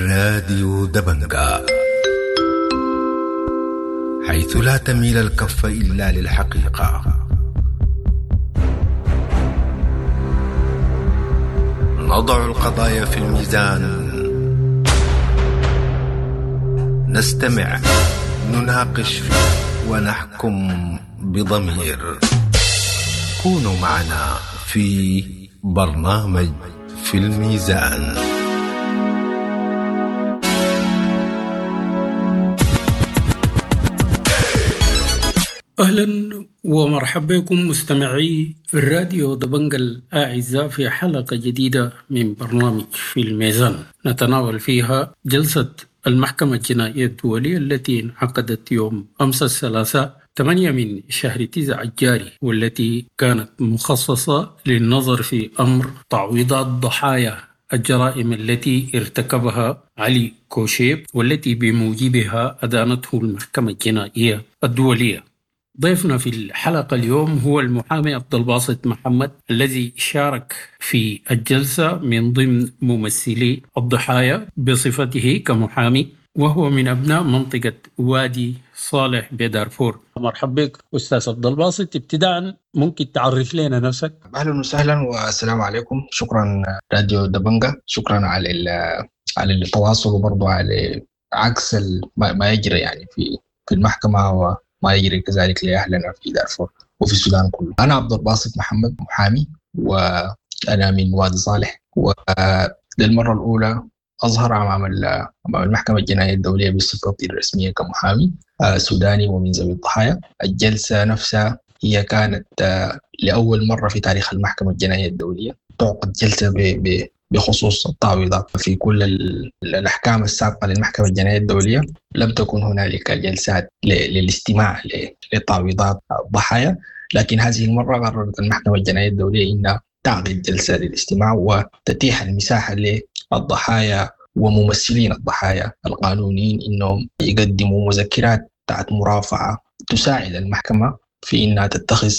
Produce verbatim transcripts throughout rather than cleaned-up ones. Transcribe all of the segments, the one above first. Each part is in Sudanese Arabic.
راديو دبنقا، حيث لا تميل الكف إلا للحقيقة. نضع القضايا في الميزان، نستمع، نناقش، ونحكم بضمير. كونوا معنا في برنامج في الميزان. أهلا ومرحبا بكم مستمعي الراديو دبنقا الأعزاء في حلقة جديدة من برنامج في الميزان، نتناول فيها جلسة المحكمة الجنائية الدولية التي انعقدت يوم أمس الثلاثاء ثمانية من شهر تسعة الجاري، والتي كانت مخصصة للنظر في أمر تعويضات ضحايا الجرائم التي ارتكبها علي كوشيب والتي بموجبها أدانته المحكمة الجنائية الدولية. ضيفنا في الحلقة اليوم هو المحامي عبد الباسط محمد الذي شارك في الجلسة من ضمن ممثلي الضحايا بصفته كمحامي، وهو من أبناء منطقة وادي صالح بدارفور. مرحبا بك أستاذ عبد الباسط. ابتداء ممكن تعرف لنا نفسك؟ أهلا وسهلا والسلام عليكم. شكرا راديو دبنقا، شكرا على على التواصل وبرضه على عكس ما يجري يعني في في المحكمة و ما يجري كذلك لأهلنا في دارفور وفي السودان كله. أنا عبد الباسط محمد، محامي، وأنا من وادي صالح، وللمرة الأولى أظهر أمام أمام المحكمة الجنائية الدولية بصفتي الرسمية كمحامي سوداني ومن ذوي الضحايا. الجلسة نفسها هي كانت لأول مرة في تاريخ المحكمة الجنائية الدولية تعقد جلسة ب بخصوص التعويضات. في كل الأحكام السابقة للمحكمة الجنائية الدولية لم تكن هنالك جلسات للاستماع لتعويضات الضحايا، لكن هذه المرة قررت المحكمة الجنائية الدولية أنها تعقد جلسة للاستماع وتتيح المساحة للضحايا وممثلين الضحايا القانونيين أنهم يقدموا مذكرات بتاعت مرافعة تساعد المحكمة في أنها تتخذ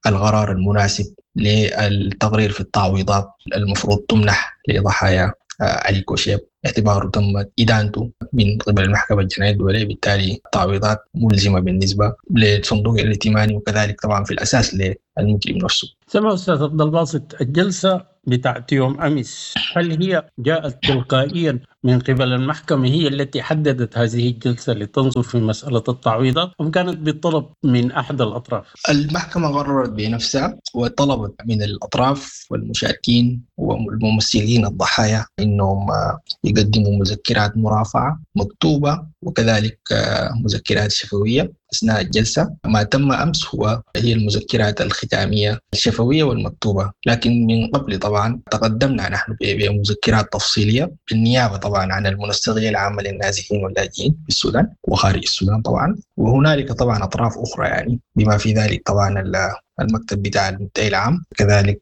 القرار المناسب للتقرير في التعويضات المفروض تمنح لضحايا علي كوشيب، اعتباره تمت إدانته من قبل المحكمة الجنائية الدولية، بالتالي التعويضات ملزمة بالنسبة للصندوق الائتماني وكذلك طبعا في الأساس للمجرم نفسه. سمع أستاذ عبد الباسط، الجلسة بتاعت يوم أمس هل هي جاءت تلقائيا من قبل المحكمة هي التي حددت هذه الجلسة لتنظر في مسألة التعويضات، أم كانت بالطلب من أحد الأطراف؟ المحكمة قررت بنفسها وطلبت من الأطراف والمشاركين والممثلين الضحايا إنهم يقدموا مذكرات مرافعة مكتوبة وكذلك مذكرات شفوية أثناء الجلسة. ما تم أمس هو هي المذكرات الختامية الشفوية والمكتوبة، لكن من قبل طبعا تقدمنا نحن بمذكرات تفصيلية بالنيابة طبعا عن المنسقية العامة للنازحين واللاجئين في السودان وخارج السودان طبعا، وهنالك طبعا أطراف أخرى يعني بما في ذلك طبعا المكتب بتاع المدعي العام، كذلك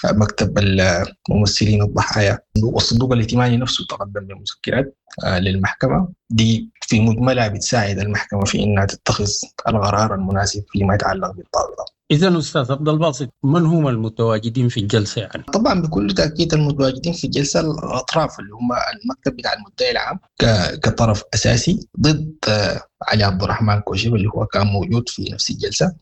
مكتب الممثلين الضحايا والصندوق الائتماني نفسه تقدم بمذكرات للمحكمة دي في مجملها بتساعد المحكمة في أنها تتخذ القرار المناسب فيما يتعلق بالتعويضات. إذا أستاذ عبد الباسط، من هم المتواجدين في الجلسة يعني؟ طبعا بكل تأكيد المتواجدين في الجلسة الأطراف اللي هم المكتب بتاع المدعي العام كطرف أساسي ضد علي عبد الرحمن كوشيب اللي هو كان موجود في نفس الجلسة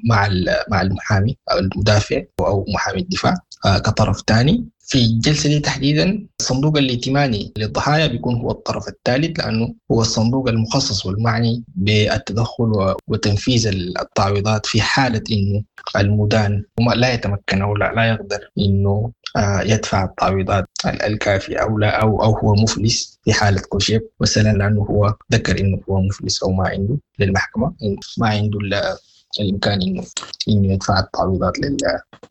مع مع المحامي أو المدافع أو محامي الدفاع كطرف ثاني. في الجلسة دي تحديدا الصندوق الائتماني للضحايا بيكون هو الطرف الثالث، لأنه هو الصندوق المخصص والمعني بالتدخل وتنفيذ التعويضات في حالة إنه المدان لا يتمكن أو لا, لا يقدر إنه يدفع التعويضات الكافية أو لا أو أو هو مفلس في حالة كوشيب مثلا، لأنه هو ذكر إنه هو مفلس أو ما عنده للمحكمة، ما عنده الإمكان إنه إنه يدفع التعويضات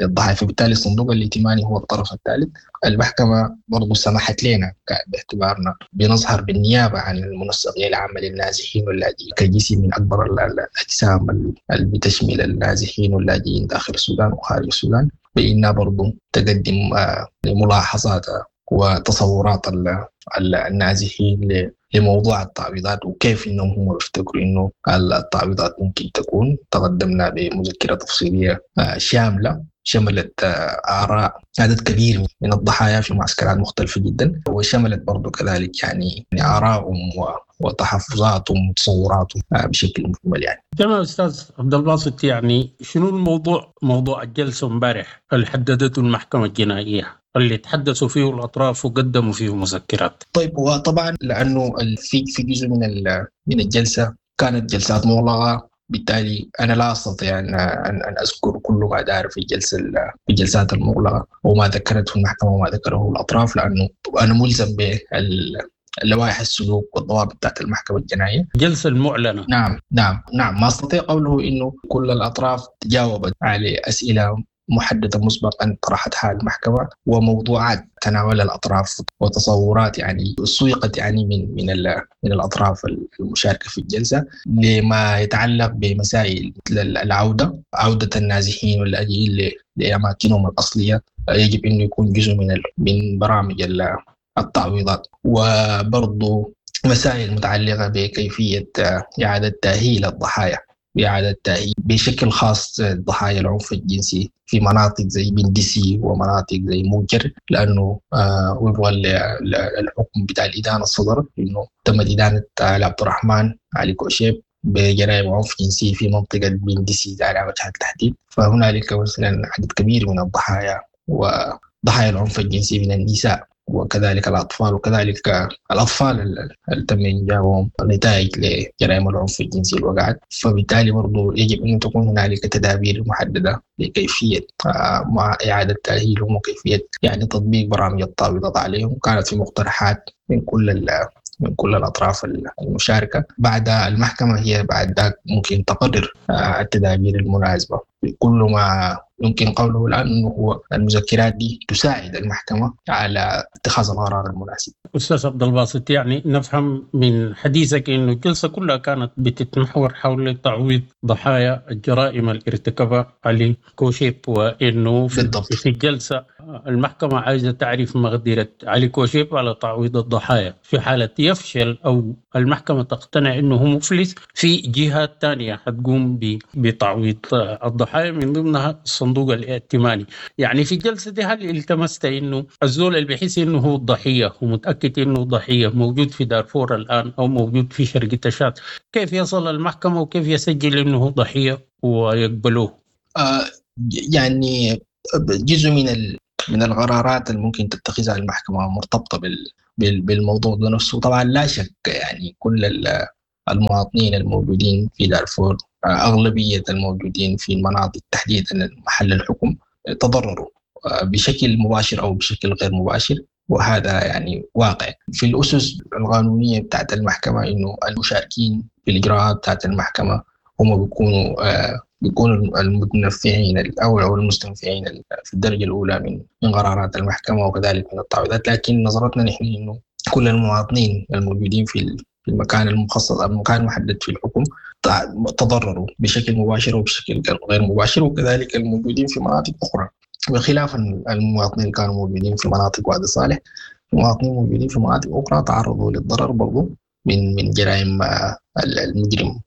للضحايا، فبالتالي الصندوق الائتماني هو الطرف الثالث. المحكمة برضو سمحت لنا باعتبارنا بنظهر بالنيابة عن المنسقية العامة للنازحين واللاجئين كجسم من أكبر الأجسام اللي بتشمل النازحين واللاجئين داخل السودان وخارج السودان، بإنها برضو تقدم ملاحظات وتصورات النازحين لموضوع التعويضات وكيف انهم هم بيفتكروا انه التعويضات ممكن تكون. تقدمنا بمذكرة تفصيلية شاملة شملت آراء عدد كبير من الضحايا في معسكرات مختلفة جدا، وشملت برضو كذلك يعني آرائهم وتحفظاتهم وتصوراتهم بشكل مجمل يعني. تمام أستاذ عبد الباسط، يعني شنو الموضوع، موضوع الجلسة امبارح اللي حددته المحكمة الجنائية اللي تحدثوا فيه الأطراف وقدموا فيه مذكرات؟ طيب، وطبعا لأنه في في جزء من من الجلسة كانت جلسات مغلقة، بالتالي أنا لا أستطيع أن أن أذكر كل ما دار في الجلسة في الجلسات المغلقة وما ذكرته المحكمة وما ذكره الأطراف، لأنه أنا ملزم باللوائح السلوك والضوابط بتاعت المحكمة الجنائية. الجلسة المعلنة. نعم نعم نعم، ما أستطيع قوله إنه كل الأطراف تجاوبت على أسئلة محددة مسبقا طرحتها المحكمة، وموضوعات تناولها الأطراف وتصورات يعني سوقت يعني من من من الأطراف المشاركة في الجلسة لما يتعلق بمسائل مثل العودة، عودة النازحين واللاجئين لأماكنهم الأصلية يجب أنه يكون جزء من من برامج التعويضات، وبرضه مسائل متعلقة بكيفية إعادة تأهيل الضحايا، بإعادة تأهيل بشكل خاص ضحايا العنف الجنسي في مناطق زي بندسي ومناطق زي موجر، لأنه آه وفقا للحكم بتاع الإدانة الصدر إنه تم إدانة عبد الرحمن علي كوشيب بجرائم عنف جنسي في منطقة بندسي على وجه التحديد. فهنالك مثلا عدد كبير من الضحايا وضحايا العنف الجنسي من النساء وكذلك الأطفال، وكذلك الأطفال اللي تم إنجابهم نتائج لجرائم العنف الجنسي اللي وقعت. فبالتالي برضو يجب أن تكون هنالك تدابير محددة لكيفية مع إعادة تأهيلهم وكيفية يعني تطبيق برامج التعويضات عليهم. كانت في مقترحات من كل من كل الأطراف المشاركة. بعد المحكمة هي بعد ذاك ممكن تقرر التدابير المناسبة. كل ما يمكن قوله الآن أنه هو المذكرات دي تساعد المحكمة على اتخاذ القرار المناسب. أستاذ عبد الباسط، يعني نفهم من حديثك أنه الجلسة كلها كانت بتتمحور حول تعويض ضحايا الجرائم اللي ارتكبها علي كوشيب، وأنه في, في الجلسة المحكمة عايزة تعرف مقدرة علي كوشيب على تعويض الضحايا. في حالة يفشل أو المحكمة تقتنع أنه هو مفلس، في جهات تانية حتقوم بتعويض الضحايا من ضمنها الصندوق الائتماني. يعني في الجلسة دي هل التمست إنه الزول اللي بيحس إنه هو الضحية ومتأكد إنه ضحية موجود في دارفور الآن أو موجود في شرق تشاد، كيف يصل المحكمة وكيف يسجل إنه هو ضحية ويقبلوه؟ آه يعني جزء من ال... من القرارات اللي ممكن تتخذها المحكمة مرتبطة بال... بال... بالموضوع ده نفسه. طبعا لا شك يعني كل المواطنين الموجودين في دارفور، أغلبية الموجودين في المناطق تحديدا محل الحكم، تضرروا بشكل مباشر أو بشكل غير مباشر، وهذا يعني واقع. في الأسس القانونية بتاعت المحكمة إنه المشاركين في الإجراءات بتاعت المحكمة هم بيكونوا بيكونوا المتنفعين الأول أو المستنفعين في الدرجة الأولى من من قرارات المحكمة وكذلك من التعويضات. لكن نظرتنا نحن إنه كل المواطنين الموجودين في المكان المخصص أو المكان المحدد في الحكم تضرروا بشكل مباشر وبشكل غير مباشر، وكذلك الموجودين في مناطق أخرى، بخلاف المواطنين اللي كانوا موجودين في مناطق وادي صالح، المواطنين الموجودين في مناطق أخرى تعرضوا للضرر برضو من من جرائم المجرم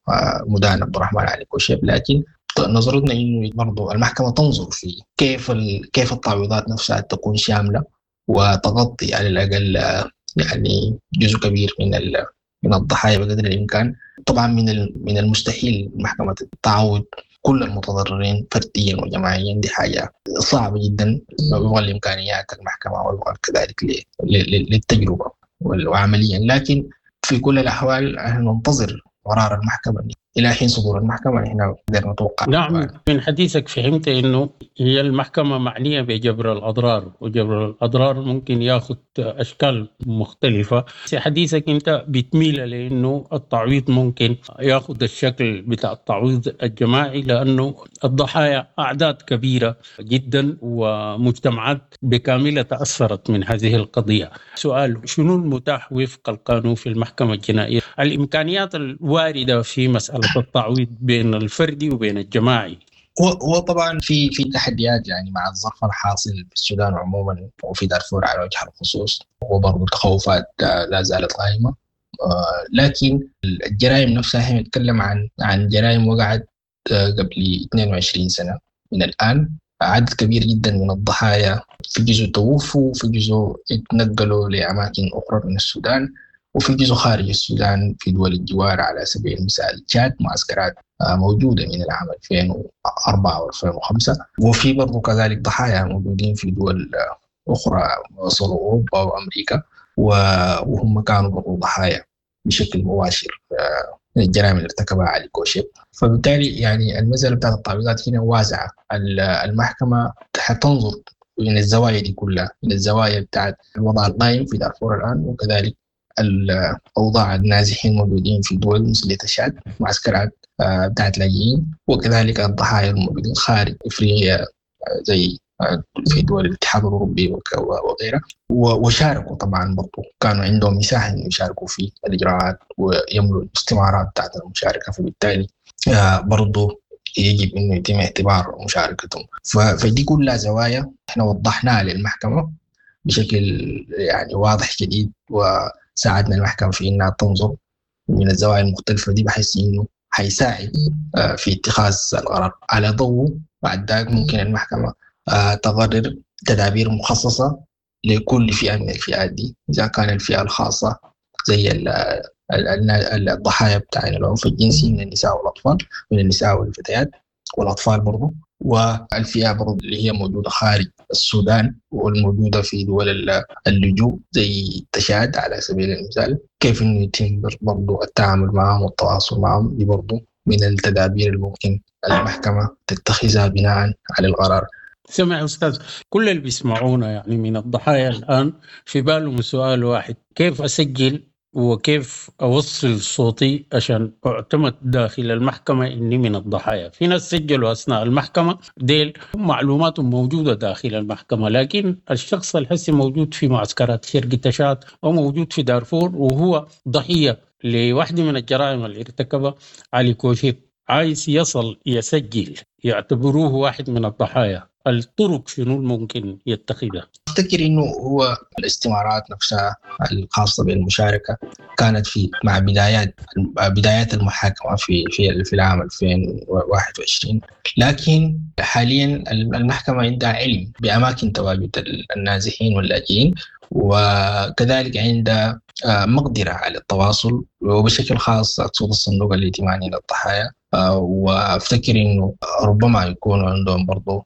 مدان عبد الرحمن علي كوشيب. لكن نظرتنا إنه برضو المحكمة تنظر في كيف كيف التعويضات نفسها تكون شاملة وتغطي على الأقل يعني جزء كبير من من الضحايا بقدر الإمكان. طبعا من من المستحيل المحكمة تعوض كل المتضررين فرديا وجماعيا، دي حاجة صعبة جدا وفق الإمكانيات المحكمة وفق كذلك للتجربة وعمليا. لكن في كل الأحوال ننتظر قرار المحكمة إلى حين صدور المحكمة، نحن نقدر نتوقع. نعم، من حديثك فهمت إنه هي المحكمة معنية بجبر الأضرار، وجبر الأضرار ممكن ياخذ أشكال مختلفة. في حديثك أنت بتميل لأنه التعويض ممكن ياخذ الشكل بتاع التعويض الجماعي، لأنه الضحايا أعداد كبيرة جدا ومجتمعات بكاملة تأثرت من هذه القضية. سؤال، شنو المتاح وفق القانون في المحكمة الجنائية؟ الإمكانيات الواردة في مسألة التعويض بين الفردي وبين الجماعي؟ هو طبعا في في تحديات يعني مع الظرف الحاصل في السودان عموما وفي دارفور على وجه الخصوص، وبرضه التخوفات لا زالت قائمه. لكن الجرائم نفسها هي نتكلم عن عن جرائم وقعت قبل اثنين وعشرين سنه من الان. عدد كبير جدا من الضحايا في جزء توفوا، وفي جزء اتنقلوا لأماكن أخرى من السودان، وفي جزء خارج السودان في دول الجوار، على سبيل المثال تشاد معسكرات موجودة من العام ألفين وأربعة وألفين وخمسة، وفي برضو كذلك ضحايا موجودين في دول أخرى وصلوا أوروبا وأمريكا، وهم كانوا برضو ضحايا بشكل مباشر من الجرائم اللي ارتكبها علي كوشيب. فبالتالي يعني المسألة بتاعت التعويضات هنا واسعة، المحكمة حتنظر من الزوايا دي كلها، من الزوايا بتاعت الوضع القائم في دارفور الآن، وكذلك الأوضاع النازحين الموجودين في دول مثل تشاد، معسكرات بتاعت لاجئين، وكذلك الضحايا الموجودين خارج إفريقيا زي في دول الاتحاد الأوروبي وغيرها، وشاركوا طبعا برضو، كانوا عندهم مساحة إنه يشاركوا في الإجراءات ويملوا الاستمارات بتاعت المشاركة، فبالتالي برضو يجب إنه يتم اعتبار مشاركتهم. فدي كلها زوايا احنا وضحناها للمحكمة بشكل يعني واضح جديد، وساعدنا المحكمة في إنها تنظر من الزوايا المختلفة دي، بحيث إنه حيساعد في اتخاذ القرار على ضوء. بعد ذلك ممكن المحكمة تقرر تدابير مخصصة لكل فئة من الفئات دي، إذا كان الفئة الخاصة زي الضحايا بتاع العنف الجنسي من النساء والأطفال، من النساء والفتيات والأطفال برضو، والفئة برضو اللي هي موجودة خارج السودان والموجودة في دول اللجوء زي تشاد على سبيل المثال، كيف إنه يتم برضو التعامل معهم والتواصل معهم، دي برضو من التدابير الممكن المحكمة تتخذها بناء على القرار. سمع أستاذ، كل اللي بيسمعونا يعني من الضحايا الآن في بالهم سؤال واحد: كيف أسجل وكيف أوصل صوتي عشان أعتمد داخل المحكمة إني من الضحايا؟ في ناس سجلوا أثناء المحكمة، ديل معلوماتهم موجودة داخل المحكمة، لكن الشخص الحسي موجود في معسكرات شرق تشاد أو موجود في دارفور وهو ضحية لواحدة من الجرائم اللي ارتكبها علي كوشيب، عايز يصل يسجل يعتبروه واحد من الضحايا، الطرق شنو الممكن يتخذها؟ أفتكر إنه هو الاستمارات نفسها الخاصة بالمشاركة كانت في مع بدايات بدايات المحاكمة في في في العام ألفين وواحد وعشرين، لكن حاليا المحكمة عندها علم بأماكن تواجد النازحين واللاجئين، وكذلك عندها مقدرة على التواصل، وبشكل خاص أقصد الصندوق الائتماني للضحايا، وأفتكر إنه ربما يكون عندهم برضو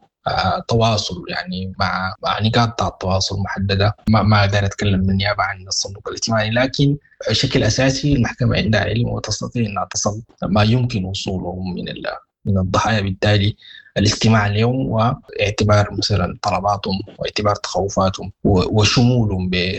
تواصل يعني مع مع نقاط التواصل محددة. ما ما أقدر أتكلم بالنيابة عن الصندوق الائتماني، لكن بشكل أساسي المحكمة عندها علم وتستطيع أنها تصل ما يمكن وصوله من من الضحايا، بالتالي الاستماع اليوم واعتبار مثلا طلباتهم واعتبار تخوفاتهم وشمولهم ب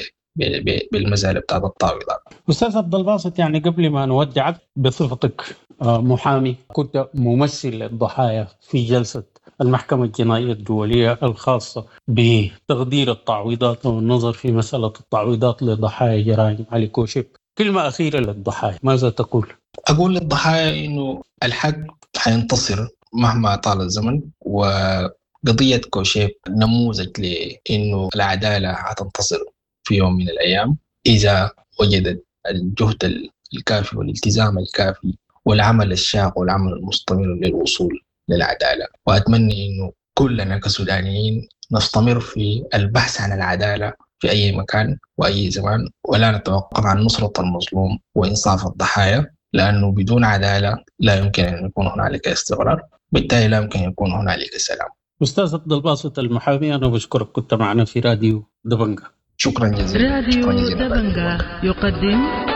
بالمسألة بتاعت التعويضات. أستاذ عبد الباسط، يعني قبل ما نودعك بصفتك محامي كنت ممثل للضحايا في جلسة المحكمة الجنائية الدولية الخاصة بتقدير التعويضات والنظر في مسألة التعويضات لضحايا جرائم علي كوشيب، كلمة أخيرة للضحايا ماذا تقول؟ أقول للضحايا إنه الحق حينتصر مهما طال الزمن، وقضية كوشيب نموذج لإنه العدالة حتنتصر في يوم من الأيام إذا وجدت الجهد الكافي والالتزام الكافي والعمل الشاق والعمل المستمر للوصول للعدالة. وأتمنى إنه كلنا كسودانيين نستمر في البحث عن العدالة في أي مكان وأي زمان، ولا نتوقف عن نصرة المظلوم وإنصاف الضحايا، لأنه بدون عدالة لا يمكن أن يكون هنالك استقرار، بالتالي لا يمكن أن يكون هنالك سلام. أستاذ عبد الباسط المحامي، أنا بشكرك كنت معنا في راديو دبنجة. شكرا جزيلا. راديو دبنجة يقدم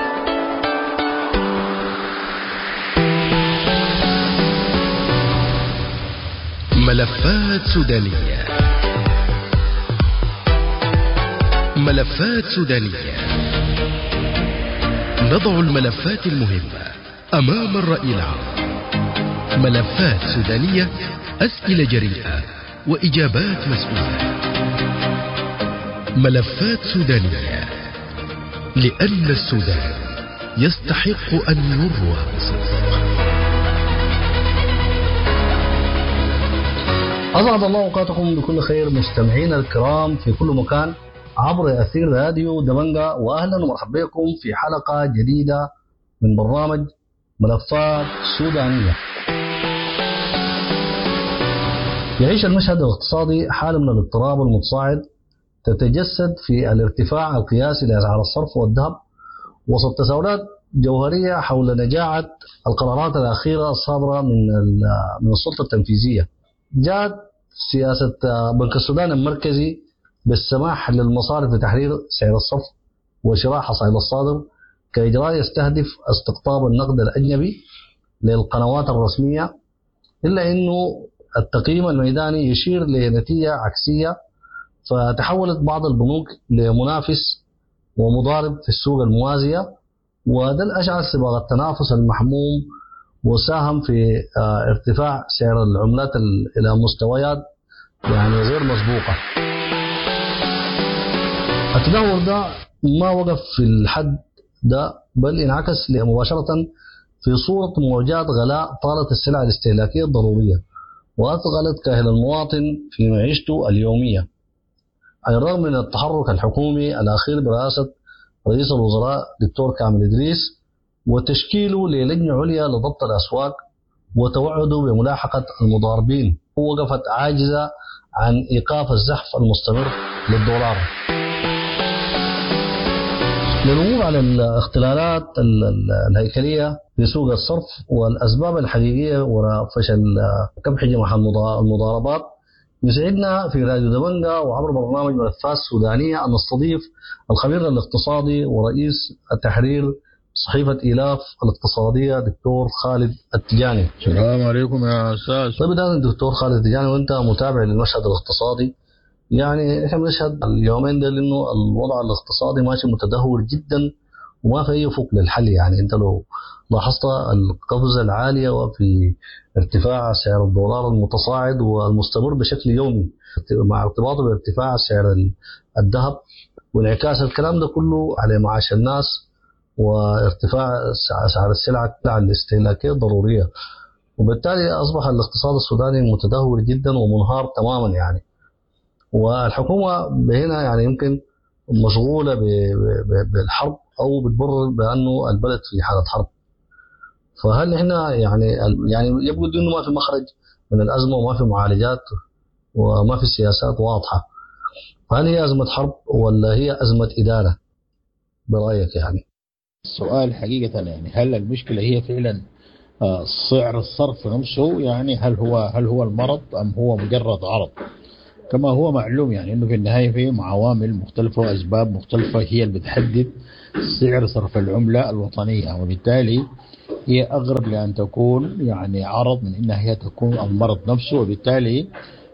ملفات سودانية. ملفات سودانية، نضع الملفات المهمة أمام الرأي العام. ملفات سودانية، أسئلة جريئة وإجابات مسؤولة. ملفات سودانية، لأن السودان يستحق أن يروى بصدق. أسعد الله أوقاتكم بكل خير مستمعينا الكرام في كل مكان عبر أثير راديو دبنجة، وأهلا ومرحبا بكم في حلقة جديدة من برنامج ملفات سودانية. يعيش المشهد الاقتصادي حالة من الاضطراب المتصاعد تتجسد في الارتفاع القياسي لأسعار الصرف والذهب وسط تساؤلات جوهرية حول نجاعة القرارات الأخيرة الصادرة من من السلطة التنفيذية. جاءت سياسة بنك السودان المركزي بالسماح للمصارف بتحرير سعر الصرف وشراء حصائل الصادر كإجراء يستهدف استقطاب النقد الأجنبي للقنوات الرسمية، إلا أنه التقييم الميداني يشير لنتيجة عكسية، فتحولت بعض البنوك لمنافس ومضارب في السوق الموازية، وده الأشعل سباق التنافس المحموم وساهم في ارتفاع سعر العملات إلى مستويات يعني غير مسبوقة. التدهور ده ما وقف في الحد ده، بل انعكس مباشرة في صورة موجات غلاء طالت السلع الاستهلاكية الضرورية وأثقلت كاهل المواطن في معيشته اليومية. على الرغم من التحرك الحكومي الأخير برئاسة رئيس الوزراء دكتور كامل إدريس وتشكيله للجنة عليا لضبط الأسواق وتوعده بملاحقة المضاربين، وقفت عاجزة عن إيقاف الزحف المستمر للدولار. للوقوف على الاختلالات الهيكلية في سوق الصرف والأسباب الحقيقية وراء فشل كبح جماح المضاربات، يسعدنا في راديو دبنجا وعبر برنامج ملفات سودانية أن نستضيف الخبير الاقتصادي ورئيس التحرير صحيفة إيلاف الاقتصادية دكتور خالد التجاني. السلام عليكم يا أستاذ. طيب بداية دكتور خالد التجاني، وأنت متابع للمشهد الاقتصادي، يعني احنا بنشهد اليومين دول انه الوضع الاقتصادي ماشي متدهور جدا وما في اي افق للحل. يعني انت لو لاحظت القفزة العالية وفي ارتفاع سعر الدولار المتصاعد والمستمر بشكل يومي مع ارتباطه بارتفاع سعر الذهب وانعكاس الكلام ده كله على معاش الناس وارتفاع اسعار السلع الاستهلاكية الضرورية، وبالتالي اصبح الاقتصاد السوداني متدهور جدا ومنهار تماما. يعني والحكومة هنا يعني يمكن مشغولة بالحرب أو بتبرر بأنه البلد في حالة حرب. فهل احنا يعني يعني يبدو إنه ما في مخرج من الأزمة وما في معالجات وما في سياسات واضحة. فهل هي أزمة حرب ولا هي أزمة إدارة برأيك؟ يعني السؤال حقيقة يعني هل المشكلة هي فعلا سعر الصرف نفسه؟ يعني هل هو هل هو المرض أم هو مجرد عرض؟ كما هو معلوم يعني انه في النهاية في عوامل مختلفة واسباب مختلفة هي اللي بتحدد سعر صرف العملة الوطنية، وبالتالي هي اقرب لان تكون يعني عرض من انها هي تكون المرض نفسه، وبالتالي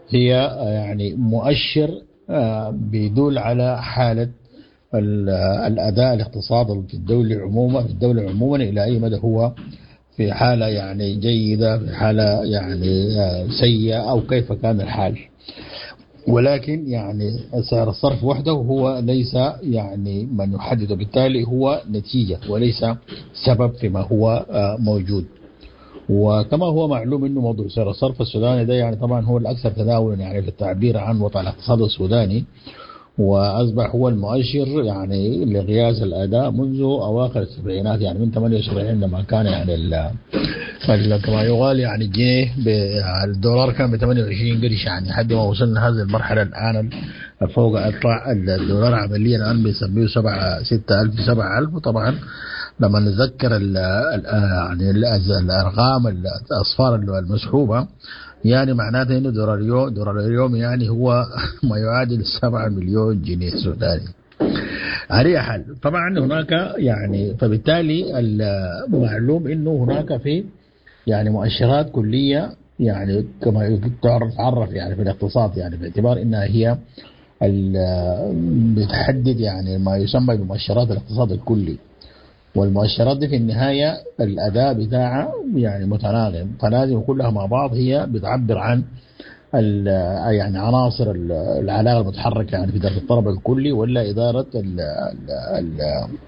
هي يعني مؤشر بيدل على حاله الاداء الاقتصادي في الدولة عموما في الدولة عموما الى اي مدى هو في حاله يعني جيدة، في حاله يعني سيئه، او كيف كان الحال. ولكن يعني سعر الصرف وحده هو ليس يعني من يحدده، بالتالي هو نتيجة وليس سبب فيما هو موجود. وكما هو معلوم انه موضوع سعر الصرف السوداني ده يعني طبعا هو الاكثر تداولا يعني في التعبير عن وضع الاقتصاد السوداني، واصبح هو المؤشر يعني لقياس الاداء منذ اواخر السبعينات، يعني من ثمانية وسبعين لما كان يعني ال كما يقال يعني الجنيه بالدولار كان ب ثمانية وعشرين قرش، يعني لحد ما وصلنا هذه المرحلة الان فوق اطلع الدولار عمليا الان بيسميه سبعة ستة ألف سبعة ألف. وطبعا لما نتذكر ال يعني الارقام الاصفار المسحوبه يعني معناته انه دولار اليوم دولار اليوم يعني هو ما يعادل سبعة مليون جنيه سوداني. على حال طبعا هناك يعني فبالتالي المعلوم انه هناك في يعني مؤشرات كليه يعني كما تعرف يعني في الاقتصاد، يعني باعتبار انها هي بتحدد يعني ما يسمى بمؤشرات الاقتصاد الكلي، والمؤشرات دي في النهاية الأداء بتاعها يعني متناغم، فلازم كلها مع بعض هي بتعبر عن يعني عناصر العلاقة المتحركة يعني في إدارة الطلب الكلي ولا إدارة ال ال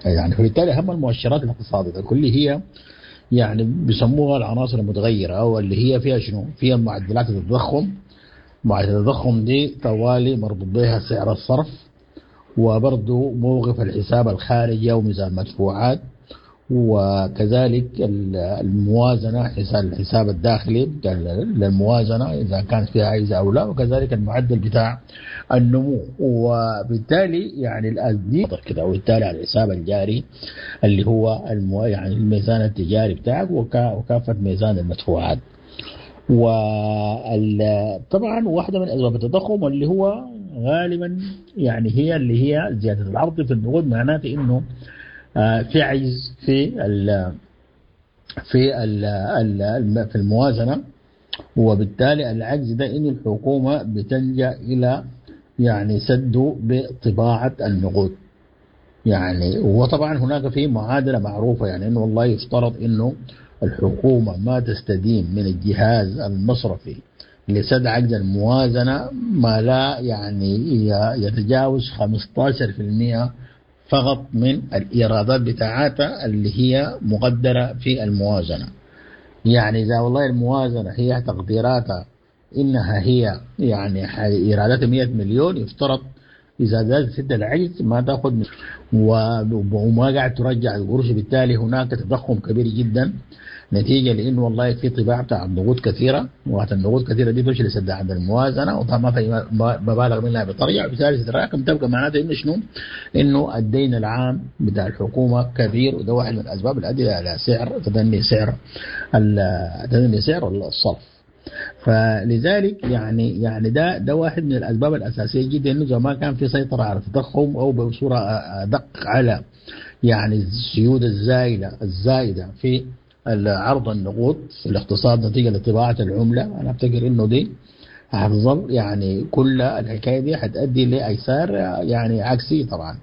يعني فبالتالي أهم المؤشرات الاقتصادية الكلي هي يعني بيسموها العناصر المتغيرة أو اللي هي فيها شنو؟ فيها معدلات التضخم، معدلات التضخم دي طوالي مربوط بها سعر الصرف، وبرضه موقف الحساب الخارجي وميزان المدفوعات، وكذلك الموازنة، حساب الحساب الداخلي للموازنة إذا كانت فيها عجز أو لا، وكذلك المعدل بتاع النمو. وبالتالي يعني الأزدي كده، وبالتالي على الحساب الجاري اللي هو المو يعني الميزان التجاري بتاعك وكافة ميزان المدفوعات. وطبعا واحدة من أسباب التضخم اللي هو غالبا يعني هي اللي هي زيادة العرض في النقود، معناته إنه في عجز في ال في ال ال في الموازنة، وبالتالي العجز ده إن الحكومة بتلجأ إلى يعني سده بطباعة النقود. يعني وطبعا هناك في معادلة معروفة، يعني إنه والله يفترض إنه الحكومة ما تستدين من الجهاز المصرفي لسد عجز الموازنة ما لا يعني يتجاوز خمسة عشر بالمئة فقط من الإيرادات بتاعتها اللي هي مقدرة في الموازنة. يعني إذا والله الموازنة هي تقديراتها إنها هي يعني إيراداتها مئة مليون، يفترض إذا زادت سد العجز ما تأخذ وما قاعد ترجع القروش، بالتالي هناك تضخم كبير جدا نتيجة لأنه والله في طباعة بتاع النقود كثيرة، وقت النقود كثيرة دي تمشي لسد عند الموازنة، وطبعا ما في مبالغ منها بترجع، وبالتالي تتراكم، تبقى معناته إنه شنو؟ إنه الدين العام بتاع الحكومة كبير، وده واحد من الأسباب اللي أدى إلى سعر تدني سعر تدني سعر الصرف. فلذلك يعني يعني ده ده واحد من الاسباب الاساسية جدا، انه زمان كان في سيطرة على التضخم او بصورة ادق على يعني السيولة الزايده الزايدة في عرض النقود في الاقتصاد نتيجة لطباعه العملة. انا افتكر انه دي هتظل يعني كل الحكاية دي هتؤدي لايسار يعني عكسي طبعا.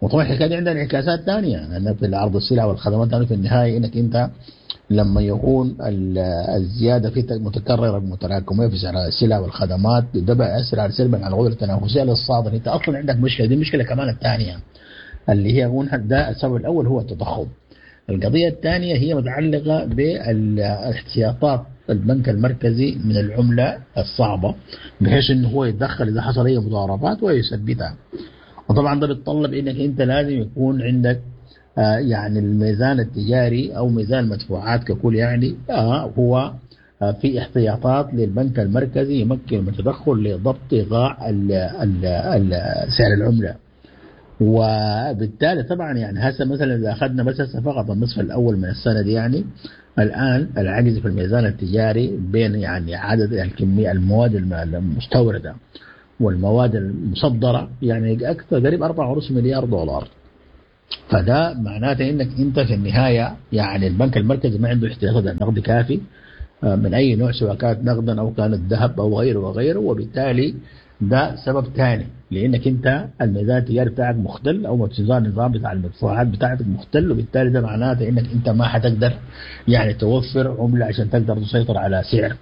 وطبعا الحكاية دي عندها انعكاسات ثانية، لان في عرض السلع والخدمات يعني في النهاية انك انت لما يكون الزيادة في متكررة متراكمه في سعر السلع والخدمات، ده بيأثر على سلبا على القدرة التنافسية للصادر. انت اصلا عندك مشكلة، دي المشكلة كمان الثانية اللي هي ده السبب الاول هو التضخم. القضية الثانية هي متعلقه بالاحتياطات البنك المركزي من العملة الصعبة، بحيث انه هو يتدخل اذا حصل اي مضاربات ويثبتها. وطبعا ده بيتطلب انك انت لازم يكون عندك آه يعني الميزان التجاري او ميزان المدفوعات ككل، يعني آه هو آه في احتياطات للبنك المركزي يمكن من التدخل لضبط ايقاع سعر العملة. وبالتالي طبعا يعني هسه مثلا اذا اخذنا بس هسه فقط النصف الاول من السنة دي، يعني الان العجز في الميزان التجاري بين يعني عدد الكمية المواد المستورده والمواد المصدرة يعني اكثر قريب أربعة ونص مليار دولار. فده معناته انك انت في النهاية يعني البنك المركزي ما عنده احتياطات نقد كافي من اي نوع، سواء كانت نقدا او كانت ذهب او غيره وغيره، وبالتالي ده سبب ثاني، لانك انت الميزان التجاري بتاعك مختل او النظام بتاع المدفوعات بتاعتك مختل، وبالتالي ده معناته انك انت ما حتقدر يعني توفر عمله عشان تقدر تسيطر على سعر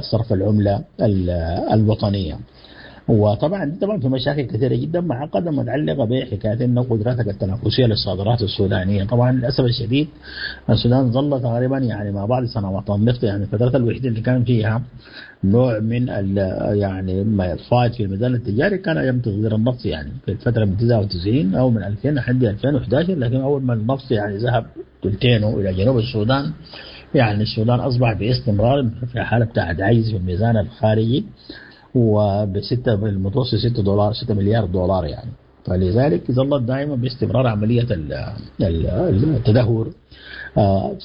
صرف العملة الوطنية. وطبعا طبعا في مشاكل كثيرة جدا معقدة متعلقه بحكاية انه قدراتك التنافسية للصادرات السودانية. طبعا للاسف الشديد السودان ظل تقريبا يعني مع بعض سنوات النفط، يعني الفترات الوحيدة اللي كان فيها نوع من يعني ما الفائض في الميزان التجاري كان ايام تصدير النفط، يعني في الفترة من تسعة وتسعين او من ألفين لحد ألفين وأحد عشر. لكن اول ما النفط يعني ذهب ثلثينه الى جنوب السودان، يعني السودان اصبح باستمرار في حاله بتاعت عجز في الميزان الخارجي، وبستة بالمتوسط ستة دولار ستة مليار دولار يعني. فلذلك ظلت دائما باستمرار عملية التدهور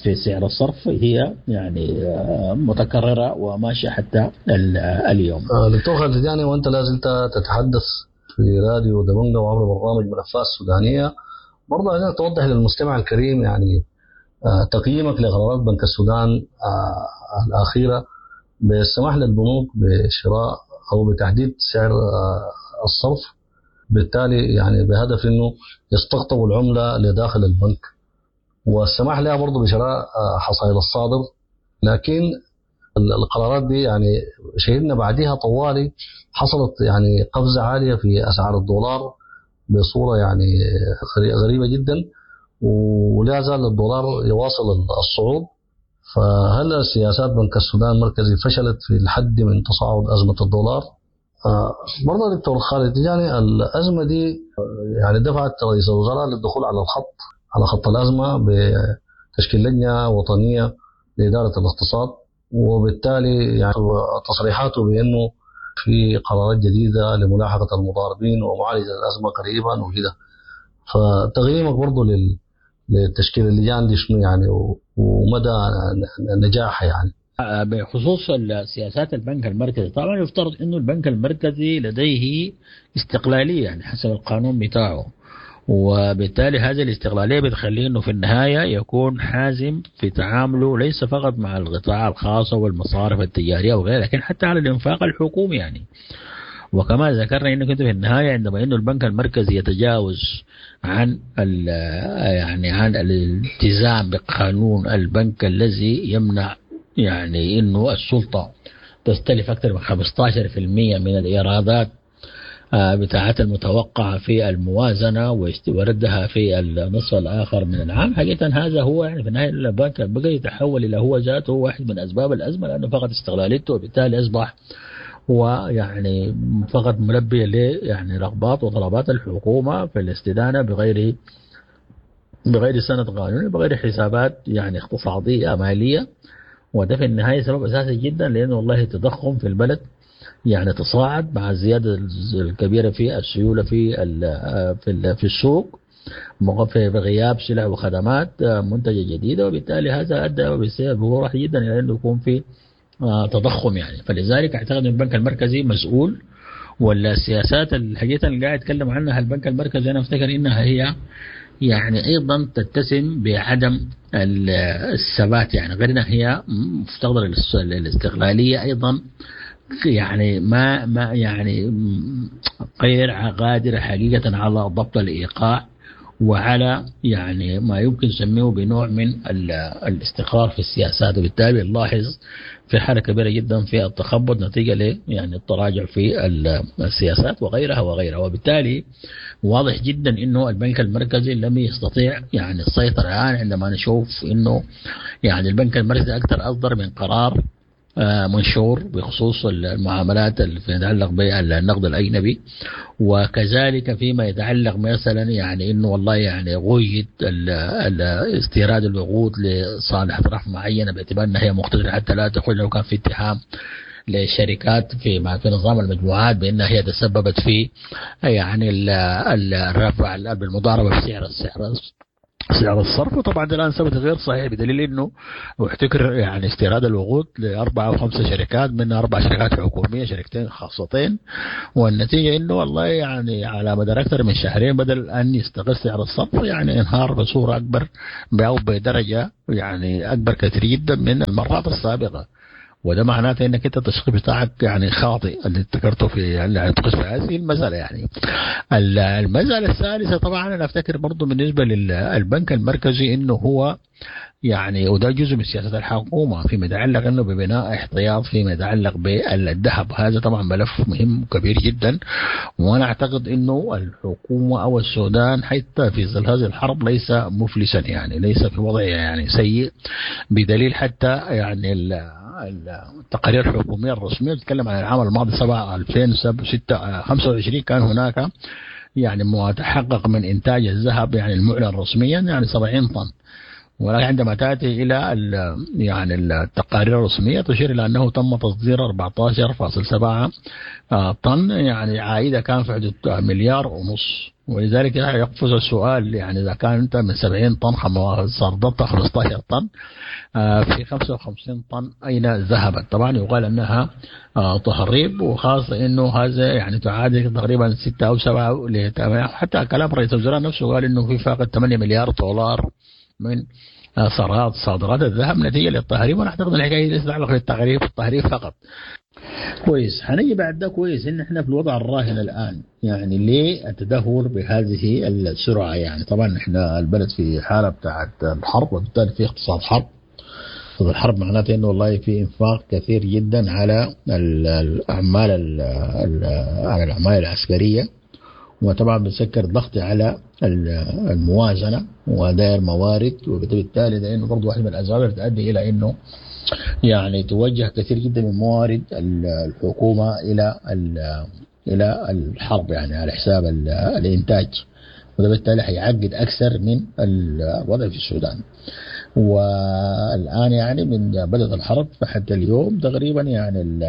في سعر الصرف هي يعني متكررة وماشية حتى اليوم. دكتور خالد تجاني، وأنت لا زلت تتحدث في راديو دبنجة وعبر برنامج ملفات سودانية، برضه عايزين توضح للمستمع الكريم يعني تقييمك لقرارات بنك السودان الأخيرة بالسماح للبنوك بشراء او بتحديد سعر الصرف، بالتالي يعني بهدف انه يستقطبوا العملة لداخل البنك، والسماح لها برضه بشراء حصائل الصادر. لكن القرارات دي يعني شهدنا بعديها طوالي حصلت يعني قفزه عالية في اسعار الدولار بصورة يعني غريبة جدا، ولا زال الدولار يواصل الصعود. فهل سياسات بنك السودان المركزي فشلت في الحد من تصاعد أزمة الدولار؟ آه برضه دكتور خالد يعني الأزمة دي يعني دفعت رئيس الوزراء للدخول على الخط على خط الأزمة بتشكيل لجنة وطنية لإدارة الاقتصاد، وبالتالي يعني تصريحاته بأنه في قرارات جديدة لملاحقة المضاربين ومعالجة الأزمة قريبا وكده. فتقييمك برضه لل لتشكيل اللجان دي شنو يعني ومدى نجاحها يعني؟ بخصوص سياسات البنك المركزي، طبعا يفترض انه البنك المركزي لديه استقلالية يعني حسب القانون بتاعه، وبالتالي هذه الاستقلالية بتخليه انه في النهاية يكون حازم في تعامله ليس فقط مع القطاع الخاص والمصارف التجارية وغيرها، لكن حتى على الانفاق الحكومي يعني. وكما ذكرنا انه كنت في النهاية عندما انه البنك المركزي يتجاوز عن يعني عن الالتزام بقانون البنك الذي يمنع يعني انه السلطة تستلف اكثر من خمسة عشر بالمئة من الايرادات بتاعت المتوقعة في الموازنة وردها في النصف الآخر من العام. حقيقة هذا هو يعني في النهاية البنك بقى يتحول إلى هو ذاته واحد من أسباب الأزمة، لأنه فقد استقلاليته، وبالتالي أصبح هو يعني فقط ملبي ل يعني رغبات وطلبات الحكومة في الاستدانة بغير بغير سند قانوني، بغير حسابات يعني اقتصادية مالية. وده في النهاية سبب أساسي جدا، لأنه والله التضخم في البلد يعني تصاعد مع الزيادة الكبيرة في السيولة في في في السوق، في غياب سلع وخدمات منتجة جديدة، وبالتالي هذا أدى بواضح جدا إلى أنه يكون في تضخم يعني. فلذلك أعتقد أن البنك المركزي مسؤول، ولا السياسات الحقيقة اللي قاعد أتكلم عنها البنك المركزي أنا أفتكر إنها هي يعني أيضا تتسم بعدم الثبات يعني، غير أنها هي مفتقدة الاستقلالية أيضا يعني، ما ما يعني غير قادرة حقيقة على ضبط الإيقاع وعلى يعني ما يمكن نسميه بنوع من الاستقرار في السياسات، وبالتالي نلاحظ في حالة كبيرة جدا في التخبط نتيجة ل يعني التراجع في السياسات وغيرها وغيرها. وبالتالي واضح جدا انه البنك المركزي لم يستطيع يعني السيطرة الآن، عندما نشوف انه يعني البنك المركزي اكثر اصدر من قرار منشور بخصوص المعاملات اللي تتعلق بالنقد الأجنبي، وكذلك فيما يتعلق مثلا يعني انه والله يعني غيد استيراد الوقود لصالح اطراف معينة باعتبار انها هي مقتدره حتى لا تدخل، لو كان في اتهام لشركات في في نظام المجموعات بانها هي تسببت في يعني الرفع بالمضاربه في سعر السعر سعر الصرف. وطبعا الان ثبت غير صحيح بدليل انه احتكر يعني استيراد الوقود لاربع او خمسة شركات، منها اربع شركات حكومية شركتين خاصتين، والنتيجة انه والله يعني على مدار اكثر من شهرين بدل ان يستقر سعر الصرف يعني انهار بصورة اكبر او بدرجة يعني اكبر كثير جدا من المرات السابقة. وده معناته انك انت التشخيص بتاعك يعني خاطئ اللي ذكرته في يعني تخص في هذه المسالة يعني. المسالة الثالثة طبعا انا افتكر برضه بالنسبة للبنك المركزي انه هو يعني وده جزء من سياسة الحكومة فيما يتعلق انه ببناء احتياط فيما يتعلق بالذهب. هذا طبعا ملف مهم وكبير جدا، وانا اعتقد انه الحكومة او السودان حتى في ظل هذه الحرب ليس مفلسا يعني، ليس في وضع يعني سيء، بدليل حتى يعني التقارير الحكومية الرسمية تتكلم عن العام الماضي سبعة ألفين وستة خمسة وعشرين كان هناك يعني ما تحقق من انتاج الذهب يعني المعلن رسميا يعني سبعين طن، ولكن عندما تأتي إلى يعني التقارير الرسمية تشير إلى أنه تم تصدير أربعة عشر فاصلة سبعة طن، يعني عائدة كان في حدود مليار ونص. ولذلك يقفز السؤال يعني إذا كان أنت من سبعين طن صدرت خمسة عشر طن في خمسة وخمسين طن أين ذهبت؟ طبعا يقال أنها تهريب، وخاصة أنه هذا يعني تعادل تقريبا ستة أو سبعة، حتى كلام رئيس الوزراء نفسه قال أنه في فاقد ثمانية مليار دولار من صادرات صادرات الذهب نتيجة للتهريب. وانا اعتقد الحكاية ليست تتعلق بالتهريب التهريب فقط. كويس، حنيجي بعد ده. كويس ان احنا في الوضع الراهن الان يعني ليه التدهور بهذه السرعة؟ يعني طبعا احنا البلد في حاله بتاعت الحرب، وبالتالي في اقتصاد حرب. الحرب معناته انه والله في انفاق كثير جدا على الاعمال على الاعمال العسكرية، وطبعا بتسكر ضغط على الموازنة ودائر موارد، وبالتالي ده انه برضه واحد من الاسباب اللي تؤدي الى انه يعني توجه كثير جدا من موارد الحكومة الى الى الحرب يعني على حساب الانتاج وده بالتالي حيعقد اكثر من الوضع في السودان. والان يعني من بدات الحرب حتى اليوم تقريبا يعني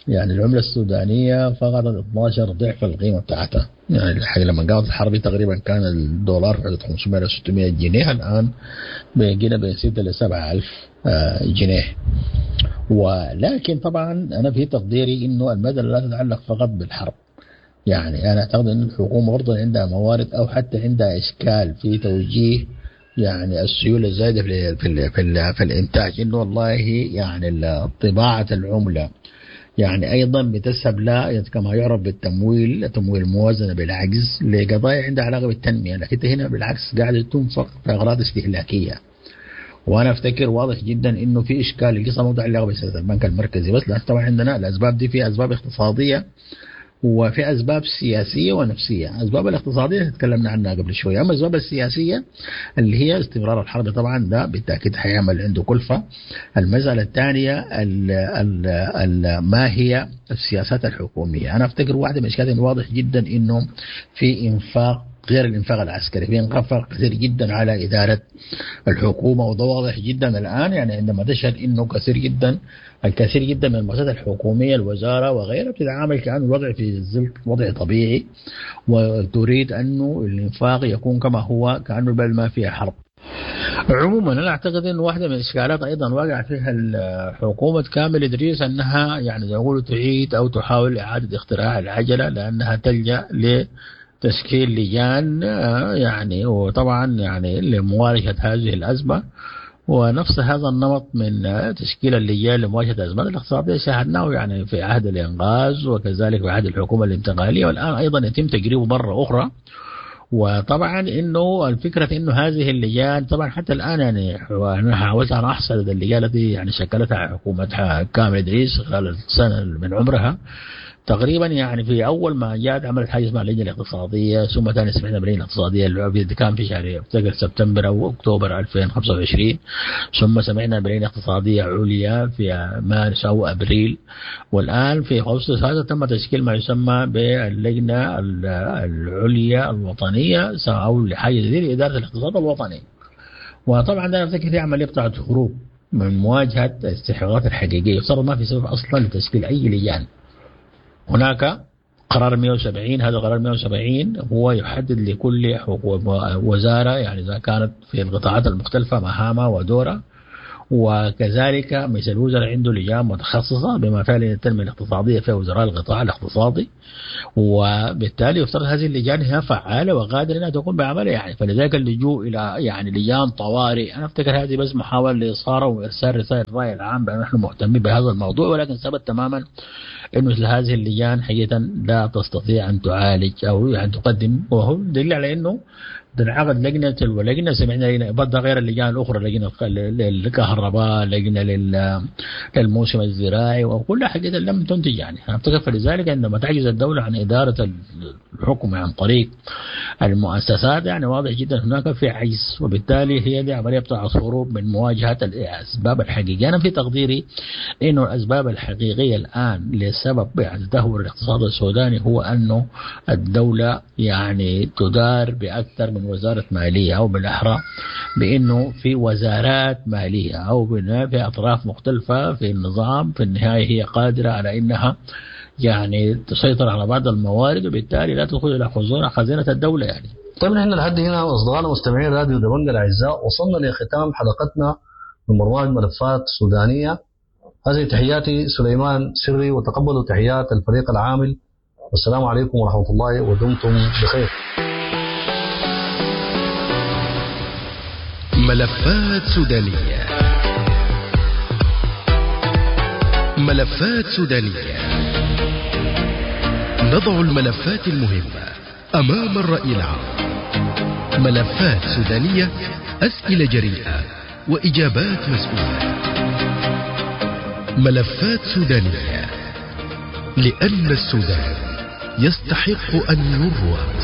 يعني العملة السودانية فقدت اثنا عشر ضعف القيمة بتاعتها. يعني الحقيقة لما قامت الحرب تقريبا كان الدولار في حدود خمسمية ل ستمية جنيه، الان بقينا بين ستة ل سبعة ألف جنيه. ولكن طبعا انا في تقديري انه المسالة لا تتعلق فقط بالحرب. يعني انا اعتقد ان الحكومة برضه عندها موارد او حتى عندها اشكال في توجيه يعني السيولة الزايدة في في في, في الانتاج، انه والله يعني طباعه العملة يعني ايضا بتذهب لا كما يعرف بالتمويل، تمويل الموازنة بالعجز لقضايا عندها علاقة بالتنميه، لكن هنا بالعكس قاعدة تنفق في اغراض استهلاكية. وانا افتكر واضح جدا انه في اشكال، القصة ما متعلقه بسياسة البنك المركزي بس، لان طبعا عندنا الاسباب دي في اسباب اقتصادية وفي اسباب سياسية ونفسية. الاسباب الاقتصادية تكلمنا عنها قبل شوية، اما الاسباب السياسية اللي هي استمرار الحرب طبعا ده بالتاكيد حيعمل عنده كلفه. المسالة الثانية ال ال ال ما هي السياسات الحكومية؟ انا افتكر واحدة من الاشكالات واضح جدا انه في انفاق غير الانفاق العسكري، في انفاق كثير جدا على ادارة الحكومة، وده واضح جدا الان يعني عندما تشهد انه كثير جدا الكثير جدا من المؤسسات الحكومية، الوزارة وغيرها، بتتعامل كانه الوضع في وضع طبيعي، وتريد انه الانفاق يكون كما هو كانه البلد ما فيها حرب. عموما انا اعتقد انه واحدة من الاشكالات ايضا وقع فيها حكومة كامل ادريس انها يعني زي ما يقولوا تعيد او تحاول اعاده اختراع العجلة، لانها تلجا ل تشكيل لجان يعني وطبعا يعني لمواجهة هذه الأزمة. ونفس هذا النمط من تشكيل اللجان لمواجهة الأزمات الاقتصادية شاهدناه يعني في عهد الإنقاذ وكذلك في عهد الحكومة الانتقالية، والآن أيضا يتم تجريبه مرة أخرى. وطبعا انه الفكرة انه هذه اللجان طبعا حتى الان يعني انا حاولت ان احصل اللجان التي يعني شكلتها حكومة كامل ادريس خلال السنة من عمرها تقريبا. يعني في اول ما جاءت عملت حاجة اسمها اللجنة الاقتصادية، ثم ثاني سمعنا باللجنه الاقتصادية اللي كان في شهر افتكر سبتمبر او اكتوبر ألفين وخمسة وعشرين، ثم سمعنا بلجنه اقتصادية عليا في مارس او ابريل، والان في اغسطس هذا تم تشكيل ما يسمى باللجنه العليا الوطنية او لحاجة زي لادارة الاقتصاد الوطني. وطبعا ده افتكر في عملية بتاعت هروب من مواجهة الاستحقاقات الحقيقية. يفترض ما في سبب اصلا لتشكيل اي لجان. هناك قرار مية وسبعين، هذا قرار مية وسبعين هو يحدد لكل وزارة يعني إذا كانت في القطاعات المختلفة مهامها ودورها، وكذلك مجلس الوزراء عنده لجان متخصصة بما فيها التنمية الاقتصادية في وزراء القطاع الاقتصادي، وبالتالي يفترض هذه اللجان هي فعالة وقادرة انها تقوم بعملها يعني. فلذلك اللجوء الى يعني لجان طوارئ انا افتكر هذه بس محاولة لاثاره وارسال رسائل الراي العام بان نحن مهتمين بهذا الموضوع، ولكن ثبت تماما انه مثل هذه اللجان حقيقة لا تستطيع ان تعالج او يعني تقدم، وهو دليل على انه تنعقد لجنة تلو لجنه. سمعنا لجنة برضه غير اللجان الاخرى، لجنة للكهرباء، لجنة للموسم الزراعي، وكلها حقيقة لم تنتج يعني. افتكر فلذلك عندما تعجز الدولة عن ادارة الحكم عن طريق المؤسسات يعني واضح جدا هناك في عجز، وبالتالي هي دي عملية بتاع هروب من مواجهة الاسباب الحقيقية. انا في تقديري انه الاسباب الحقيقية الان لسبب يعني تدهور الاقتصاد السوداني هو انه الدولة يعني تدار باكثر من وزارة مالية، أو بالأحرى بأنه في وزارات مالية أو في أطراف مختلفة في النظام في النهاية هي قادرة على أنها يعني تسيطر على بعض الموارد، وبالتالي لا تدخل إلى خزينة الدولة يعني. طيب، نحن لحد هنا اصدقائنا مستمعين راديو دبنجا الاعزاء وصلنا لختام حلقتنا من برنامج ملفات سودانيه. هذه تحياتي سليمان سري، وتقبلوا تحيات الفريق العامل، والسلام عليكم ورحمة الله ودمتم بخير. ملفات سودانية، ملفات سودانية، نضع الملفات المهمة أمام الرأي العام. ملفات سودانية، أسئلة جريئة وإجابات مسؤولة. ملفات سودانية، لأن السودان يستحق أن يروى.